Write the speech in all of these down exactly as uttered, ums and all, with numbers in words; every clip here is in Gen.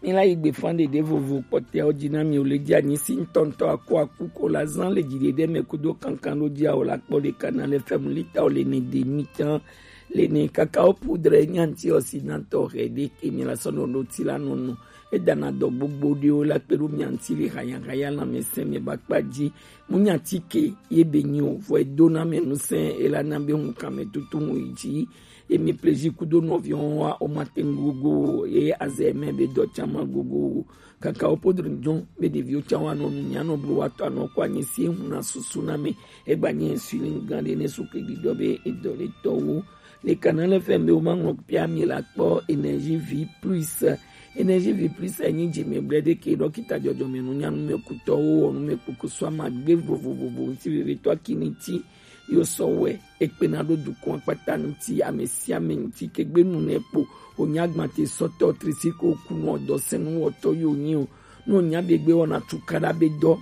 Ila yi gbe fan ɖeɖe vovo kpɔtɛawo ji na mi o le ji anyi si ŋutɔŋutɔ aku aku ko la zan le ji ɖeɖe mɛ kudo kankan ɖo ji awo la kpɔ le kana le fɛmu lita o le ne de mi tan le ne kaka o pudre nyanti o si nantɔ hɛ ɖe ke mi la sɔ nɔ ɖo ti la nɔnɔ. Edana dɔ gbogbo ɖewo la kpe ɖo mi anti le haya haya la mɛ sɛ mɛ ba kpa ji mu nyanti ke ye be nyi o vɔ edo na mɛ nu sɛ ela na be ŋu kan mɛ tutu ŋu yi ji. Emi plezi kudo nɔviwo wa o ma te ŋu gogo o, ye azɛ mɛ be dɔ tsa ma gogo o. Kaka wo podre ŋdɔ be ɖeviwo tsa wa nɔ nu mia nɔ blo wa tɔ anɔ kɔ anyi si ehu na susu na mɛ. Egba nye suli gan ɖe ne su ke didɔ be edɔ le tɔ wo. Le kana le fɛ be wo ma ŋlɔ pia mi la kpɔ Energie Vie Plus. Energie Vie Plus enyi dzi me ble ɖe ke dɔkita dzɔdzɔme nu nyanu me kutɔ wo wɔ nu me kpokpo so ama gbe vovovovo ŋuti vevitɔ kini ti yo sɔ wɛ ekpena ɖo dukɔn akpata ŋuti ame sia ame ŋuti kegbe nu ne kpo wònye agbatesɔtɔ trisiko kunɔ dɔsɛnuwɔtɔ yo nyi o ne wònye abe gbe wɔna tukaɖa be dɔ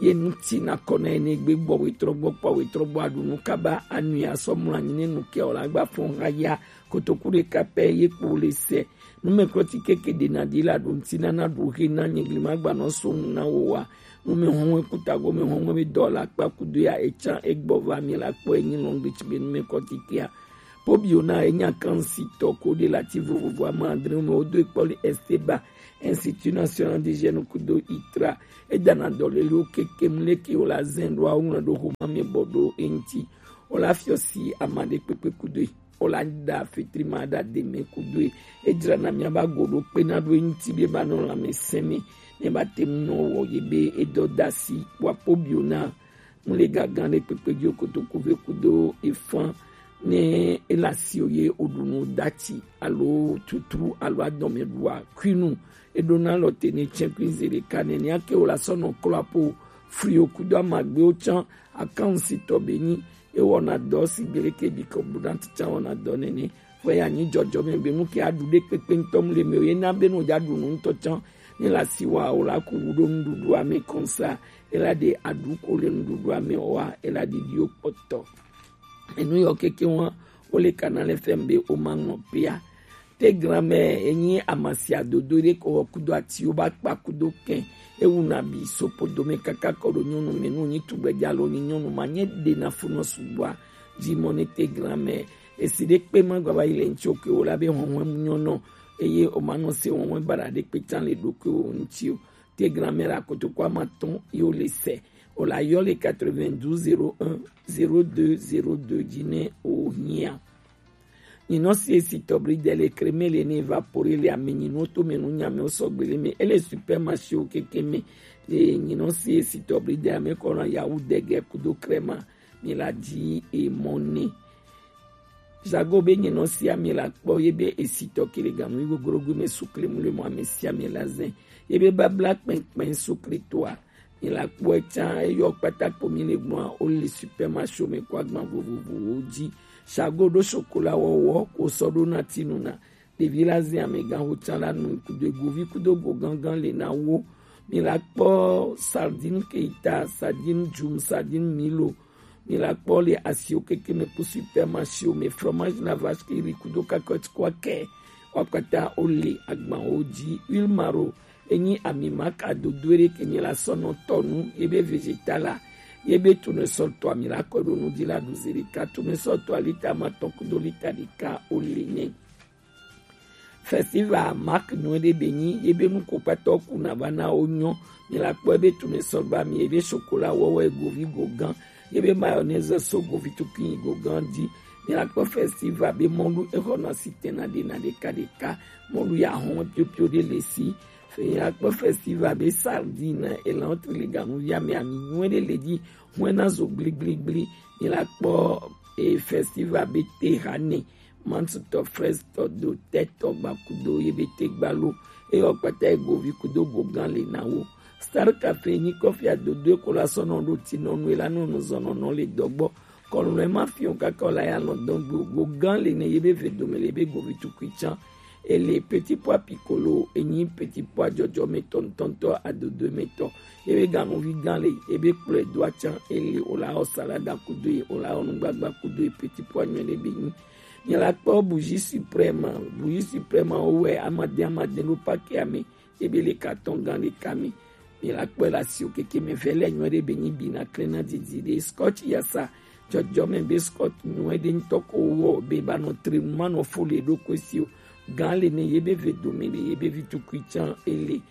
ye ŋuti nakɔ na ene gbe gbɔ wetrɔ gbɔ kpɔ wetrɔ gbɔ aɖu nu kaba anui asɔ mlɔ anyi ne nu ke o la gba fɔn ha ya kotoku ɖeka pɛ ye kpo le sɛ. Numɛklɔti keke ɖe na ɖi la ɖo ŋuti na na ɖu he na nyigli ma gba nɔ so ŋu na wo wa. Numɛ hɔn wɛ kuta go mɛ hɔn wɛ be dɔ la kpa kudo ya etsan egbɔ va mi la kpɔ enyi lɔn gbe tsi be numɛklɔti kea. Pobio na enya kan si tɔ ko ɖe la ti vovovo ama adre me wo do ekpɔ le Esteba Institut National de Jeunes kudo itra. Edana dɔ le lo keke mu le ke wo la zɛn ɖo awo ŋlɔ ɖo homa me bɔ ɖo eŋti. Wo la fiɔ si ama ɖe kpekpe kudo yi. Wo la da fitri ma da de me kudo yi. Edzra na mia ba go ɖo kpe na ɖo eŋti be ba nɔ la me sɛ me. Ne ba te mu nɔ wɔ ye be edɔ da si wa pobio na mu le gagan ɖe kpekpe dzo kotoku ve kudo ifan ne ela si o ye oɖunu dati alo tutru alo adɔme ɖua kuinu eɖona lɔ te ne tsɛ kui ze ɖeka nene ake o la sɔ nɔ klɔ apo frio kudo amagbewo tsã akan si tɔ be nyi ewɔna dɔ si gbele ke bi kɔ bu na titsa wɔna dɔ nene fɔ ya nyi dzɔdzɔme be nu ke aɖu ɖe kpekpe ŋutɔ mu le me o ye na be nu dza ɖu nu ŋutɔ tsã ne la si wa o la ku wu ɖo nuɖuɖua me kɔnsa ela ɖe aɖu ko le nuɖuɖua me o wa ela ɖiɖi o kpɔtɔ. Enu yɔ keke wa wo le kana le fɛm be o ma ŋɔ pia. Te granmɛ enyi amasia dodo ɖe ko wɔ kudo ati wo ba kpa kudo kɛ ewu na bi sopo dome kaka kɔ ɖo nyɔnu me nu nyi tugbɛdza lo nyi nyɔnu ma nye ɖe na funɔ sugbɔa. Dzi mɔ ne te granmɛ esi ɖe kpe ma gba va yi le ŋtsi o ke wo la be hɔnhɔn mu nyɔnɔ eye o ma nɔ se hɔnhɔn bara ɖe kpe tsan le ɖo ke o ŋtsi o. Te granmɛ la kotoku ama tɔn yo le sɛ o la yɔ le quatre-vingt-douze zéro un zéro deux zéro deux dzi ne o hiã. Nyinɔ si esi tɔbli de le kreme le ne evapore le ame nyinɔ to me nu nyame o sɔgbe le me ele supermarché o keke me. Le nyinɔ si esi tɔbli de ame kɔna yawu dege kudo krema mi la di e mɔ ne. Jago be nyinɔ si ame la kpɔ ye be esi tɔ kele ganu yi gogorogo me sukle mu le mɔ ame si ame la zɛ ye be babla kpɛnkpɛn sukle toa. Mi la kpɔe tsã, eyɔ kpatakpo mi le gbɔa, wo le supermarché me kɔ agban vovovowo dzi. Sago ɖo sokola wɔwɔ ko sɔ ɖo na tinu na. Ɖevi la zɛ amegã ho tsã la nu kudo egovi kudo go gangan le na wo. Mi la kpɔ sardine keita, sardine djum, sardine milo. Mi la kpɔ le asiwo keke me kpo supermarché me fromage la vache qui rit kudo kakɔt kwa kɛ. Wa kpata wo le agban wo dzi. Huile maro enyi ami maka dodo ɖe ke mi la sɔ nɔ tɔ nu ye be vegetal la ye be tournesol tɔ ami la kɔ ɖo nu di la ɖu zi ɖeka tournesol tɔ lita ma tɔ kudo lita ɖeka wo le nɛ. Festival mark nu ɖe be nyi ye be nu ko kpata wo ku na va na wo nyɔ. Mi la kpɔ ye be tournesol ba mi ye be chocolat wɔwɔ ye govi go gan ye be mayonnaise so govi tukui go gan di. Mi la kpɔ festival be mɔlu exɔ na si tɛna ɖe na ɖeka ɖeka mɔlu ya hɔn piopio ɖe le si. Fe ya kpɔ festival be sardine elan tri le ganu ya me ami nyuie ɖe le di hɔn na zo gbligbligbli. Mi la kpɔ e festival be te ha ne mantutɔ frɛstɔ do tɛtɔ gbakudo ye be te gbalo eyɔ kpata egovi kudo gogan le na wo. Star cafe nyi kɔfi adodo eko la sɔnɔ ɖo tinɔnu ela nɔnu zɔnɔnɔ le dɔgbɔ kɔlɔn ema fiɔ kaka la ya lɔn dɔn gbo gogan le ne ye be ve dome le be govi tukui tsan. Ele petit pois piccolo enyi petit pois dzɔdzɔ me tɔ ŋutɔŋutɔ adodo me tɔ. Ebe ganuvi gan le ebe kplɔe do atsan ele o la wɔ salada kudo ye o la wɔ nugbagba kudo ye petit pois nyuie ɖe be nyi. Nyla kpɔ Bougie Suprême, Bougie Suprême wo wɛ amadin amadin ɖo paki ame, ebe le carton gan ɖeka me. Nyla kpɔ la si o keke me vɛ lɛ nyuɛ ɖe be nyi bi na klɛ na didi ɖe scotch yasa jɔjɔ me be scotch nyuɛ ɖe ŋutɔ ko wɔ be ba nɔ tre ma nɔ fo le ɖo ko si o. Gan le ne ye be ve do me ɖe ye be vi tukui can ele.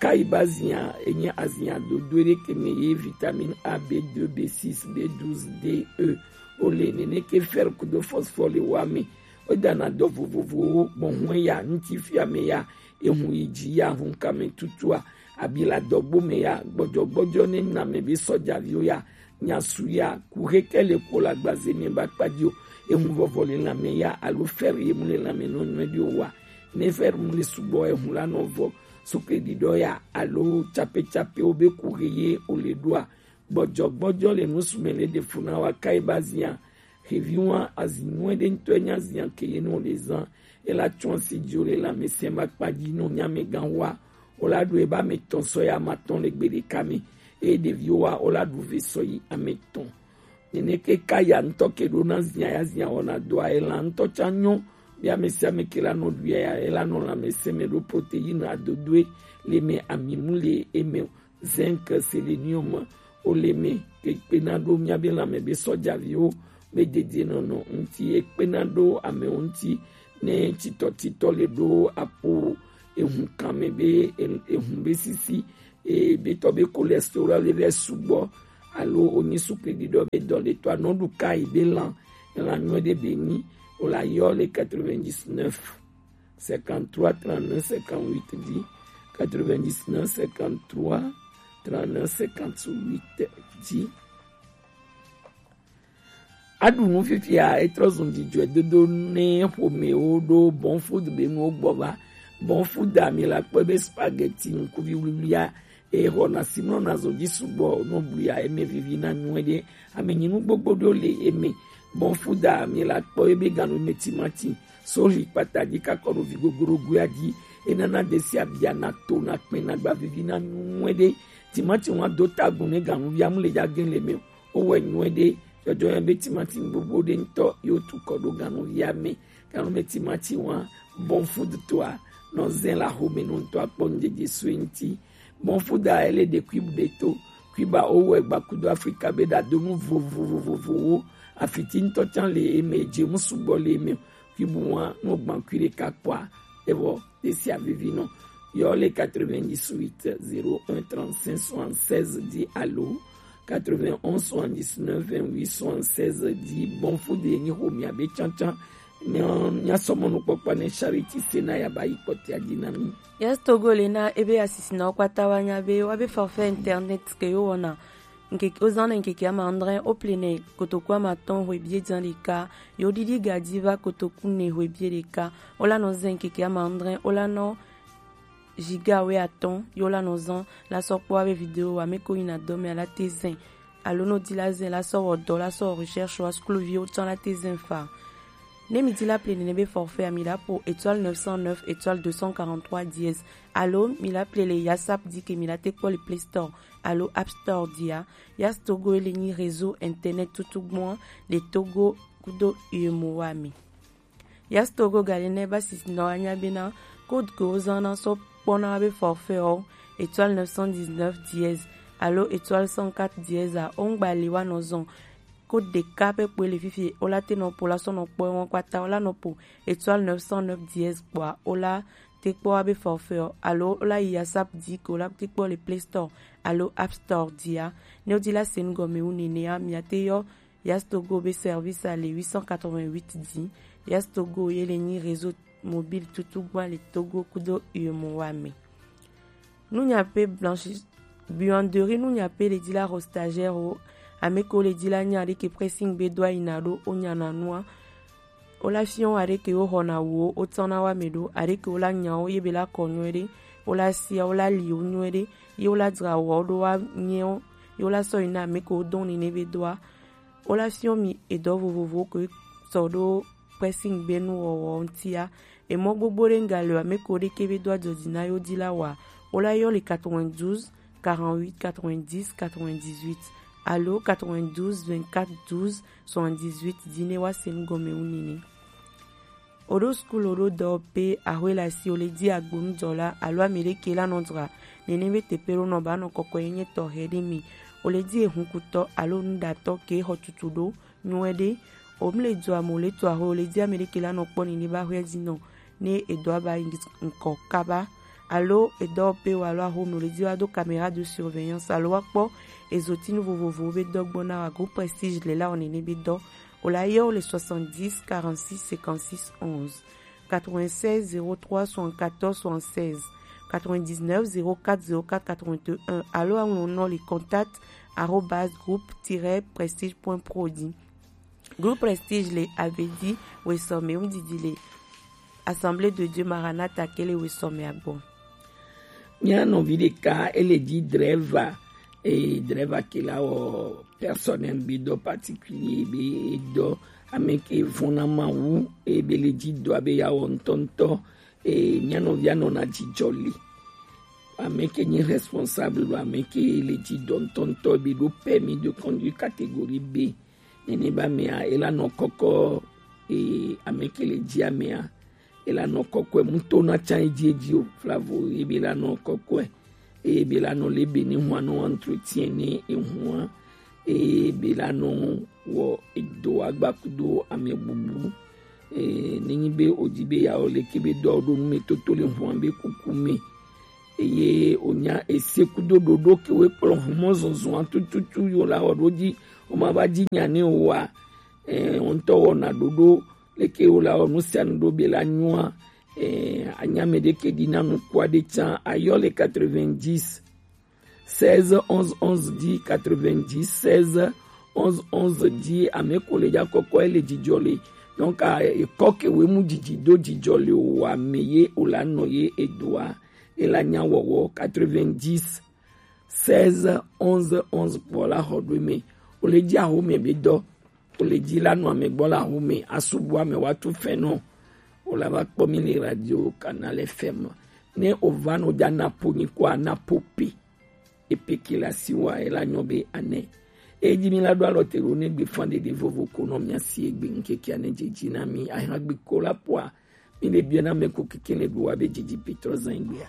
Kayi ba zia, enye azia dodo ɖe ke me ye vitamine A, B deux, B six, B douze, D, E. O le nene ke fer kudo phosphore le wa me. O dana dɔ vovovowo gbɔn hɔn ya, ŋuti fia me ya, ehun yi dzi ya, hun kame tutua, abi la dɔgbo me ya, gbɔdzɔgbɔdzɔ ne na me be sɔjaviwo ya, nyasu ya, ku heke le ko la gbaze me ba kpadzi o, ehun vɔvɔ le la me ya, alo fer ye mu le la me nɔ nyuɛ ɖi o wa. Ne fer mu le sugbɔ, ehun la nɔ vɔ. Sukle ɖiɖɔ ya alo capecapeo be ku he ye o le ɖoa, gbɔdzɔgbɔdzɔ le nusu me le ɖe fu na wa kai ba zia. Hevi wa azi nyuɛ ɖe ŋutɔ nya zia ke ye no le zan. Ela tso asi dzi o le la me se ma kpadzi no nya me gan wa. O la ɖu eba me tɔn sɔ ya ma tɔn le gbe ɖeka me. Eye ɖeviwo wa o la ɖu ve sɔ yi ame tɔn. Nene ke ka ya ŋutɔ ke ɖo na zia ya zia wɔna dɔa, ela ŋutɔ tsa nyɔ. Be ame sia ame ke la nɔ ɖu ya, ela nɔ lãmesẽ me ɖo protéine adodoe le me, ami mu le eme o, zinc, sélénium o le me, ke kpena ɖo mía be lãme be sɔjaviwo be dedienɔnɔ ŋuti, ekpena ɖo amewo ŋuti ne titɔtitɔ le ɖo apo ehun kan me be e- ehun be sisi e be tɔ be cholestérol le vɛ sugbɔ alo o nyi sukli ɖiɖɔ be dɔ le tɔ anɔ ɖu ka yi be lan lan nyuɛ ɖe be nyi o la yɔ le quatre-vingt-dix-neuf cinquante-trois trente-neuf cinquante-huit dzi, quatre-vingt-dix-neuf cinquante-trois trente-neuf cinquante-huit dzi. Aɖu nu fifia etrɔ zun dzidzɔe dodo ne ƒomewo ɖo Bon Food be nuwo gbɔ va. Bon Food ami la kpɔe be spaghetti ŋkuvi wliwlia e xɔna si mlɔna zɔn dzi sugbɔ no blia eme vivi na nyuie ɖe. Ame nyinu gbogbo ɖewo le eme. Bon Food ami la kpɔe be ganu me timati soli kpata dzi kakɔ ɖo vi gogorogoa dzi. Enana desi abia na to na kpɛ na gba vivi na nyuie ɖe. Timati wa do tagun ne ganu via mu le dza gen le me o. Wowɔe nyuie ɖe. Dzɔdzɔ yɔ be timati gbogbo ɖe ŋutɔ yewo tu kɔ ɖo ganuvia me. Ganume timati wa Bon Food toa nɔ zɛn la xome nɔ ŋutɔ akpɔ ŋdzedze sue ŋuti. Bon Food a ele ɖe Cuba ɖe to. Cuba wowɔe gba kudo Afrika be ɖadonu vovovovovowo. Afiti ŋutɔ can le eme, dzemu sugbɔ le eme. Cuba wa nɔ gbankui ɖeka kpɔa evɔ tesia vivi nɔ. Yɔ le quatre-vingt-dix-huit zéro un trente-cinq soixante-seize dzi alo quatre-vingt-onze soixante-dix-neuf vingt-huit soixante-seize dzi. Bon Food ye nyi xomia be cancan. Nya nya sɔmɔ nukpɔkpɔ ne Charity Sena ya ba yi kpɔtia dzi na mi. Yes Togo le na ebe asisi na kpata wa nya be wa be forfait internet ke yo wɔna. Ŋkeke wozã nɛ ŋkeke ama adre, wople nɛ kotoku ama atɔ̃ hwe biɛ dzã ɖeka, ye woɖiɖi ga dzi va kotoku ne hwe biɛ ɖeka. Wola nɔ zɛ ŋkeke ama adre, wola nɔ giga wɛ atɔ̃, ye wola nɔ zã la sɔ kpɔ abe video wa me ko yina dɔ me ala te zɛ. Alo no di la zɛ la sɔ wɔ dɔ la sɔ wɔ recherche wa sukluviwo tsã la te zɛ fa. Ne mi di la ple nene be forfait a mi la po étoile neuf cent neuf étoile deux cent quarante-trois dièse. Alo mi la ple le yasap di ke mi la te kpɔ le Play Store alo App Store dia. Yas Togo ele nyi réseau internet tutugbɔn le Togo kudo U E M O A me. Yas Togo gale ne ba si nɔ anya bena code ke wozã na sɔ kpɔna be forfait o étoile neuf cent dix-neuf dièse alo étoile cent quatre dièse a ongba le wa nɔ zɔn code ɖeka pɛ kpoe le fifi wola te nɔ po la sɔ nɔ kpɔ wɔn kpata wola nɔ po étoile neuf cent neuf dièse kpɔa wola te kpɔ wa be forfait o alo wola yi yasap di ke wola te kpɔ le Play Store alo App Store dia. Ne wodi la sen gɔme wu nenea mia te yɔ Yas Togo be service a le huit cent quatre-vingt-huit di. Yas Togo ye le nyi réseau mobile tutugbɔn le Togo kudo U E M O A me. Nunya pe blanchi buanderie nunya pe le di la ho stagiaire o. Ame ko le di la nya ɖe ke pressing be do ayina ɖo o nya na nua. Wola fiɔ aɖe ke wo xɔna wo o tsɔna wa me ɖo aɖe ke wola nya wo ye be la kɔ nyuie ɖe. Wola sia wola li wo nyuie ɖe. Ye wola dzra wo ɖo wa nyɛ wo. Ye wola sɔ yi na ame ko dɔn ni ne be doa. Wola fiɔ mi edɔ vovovowo ke sɔ ɖo pressing be nuwɔwɔ ŋutia. Emɔ gbogbo ɖe ŋga le o ame ko ɖe ke be do adzɔdzi na yo di la wa. Wola yɔ le quatre-vingt-douze quarante-huit quatre-vingt-dix quatre-vingt-dix-huit alo quatre-vingt-douze vingt-quatre douze soixante-dix-huit di ne wa se nu gɔme wu nene. O ɖo sukulu, o ɖo dɔwɔƒe, axwe le asi, o le ji agbonujɔla alo ame ɖe ke la nɔ dzra nene be teƒe ɖo nɔ ba nɔ kɔkɔe nye tɔxɛ ɖe mi. O le ji ehunkutɔ alo nuɖatɔ ke xɔ tutu ɖo nyuie ɖe. O mle dzɔ ame o le to axwe, o le ji ame ɖe ke la nɔ kpɔ nene ba axwe ji nɔ ne edɔ aba yi ŋkɔ kaba. Alo edɔwɔƒe wa alo axome o le ji wa do caméra de surveillance alo wa kpɔ ezotinu vovovowo be dɔ gbɔ na wa go Prestige le la wɔ nene be dɔ. O la yɔ le soixante-dix quarante-six cinquante-six onze, quatre-vingt-seize zéro trois soixante-quatorze soixante-seize, quatre-vingt-dix-neuf zéro quatre zéro quatre quatre-vingt-un alo aŋlɔ nɔ le contact arobase groupe-prestige.pro dzi. Groupe Prestige le Avedi wesɔme ŋdidi le Assemblée de Dieu Maranatha ke le wesɔme agbɔ. Mía nɔvi ɖeka ele ji drɛva, eye drɛva ke la wɔ personnel be dɔ particulier be dɔ ame ke vɔna Mawu eye be le ji dɔa be ya wɔ ŋutɔŋutɔ. Eye mía nɔvia nɔna jijɔ li. Ame ke nyi responsable lo ame ke le ji dɔ ŋutɔŋutɔ be ɖo permis de conduire catégorie B. Nene ba mea ela nɔ kɔkɔ, eye ame ke le ji amea ela nɔ kɔkɔe muto na tsa edzi edzi o flavo ebe la nɔ kɔkɔe eye be la nɔ le be ne hua nɔ entretien ne ehua eye be la nɔ wɔ edo agbakudo ame bubu. Eye ne nyi be o di be ya o le ke be dɔ ɖo nu me toto le hua be kuku me eye o nya ese kudo ɖoɖo ke we kplɔ humɔ zɔzɔa tututu yo la wɔ ɖo dzi o ma va dzi nya ne o wa. Eh, ŋutɔ wɔna ɖoɖo leke wo la wɔ nu sia nu ɖo be la nyua. Eh, anya me ɖe ke ɖi na nukua ɖe tsã ayɔ le quatre-vingt-dix seize onze onze dzi, quatre-vingt-dix seize onze onze dzi ame ko le dza kɔkɔ ele dzidzɔ le. Donc ekɔ ke we mu dzidzi do dzidzɔ le o wa me ye o la nɔ ye edoa e la nya wɔwɔ quatre-vingt-dix seize onze onze kpɔ la xɔ ɖo me. O le dzi aho me be dɔ o le dzi la nɔ ame gbɔ la ho me asubu ame wa tu fɛn nɔ. O la va kpɔ mi le radio Canal F M. Ne o va nɔ dza na po nyi kɔ ana po pe. Epe ke la si wa e la nyɔ be anɛ. E dzi mi la ɖo alɔ te ɖo ne gbe fan ɖeɖe vovo ko nɔ mia si egbe ŋkeke ane dzedzi na mi ahan gbe ko la poa. Mi le bia na me ko keke ne ɖo wa be dzedzi pe trɔ zan gbea.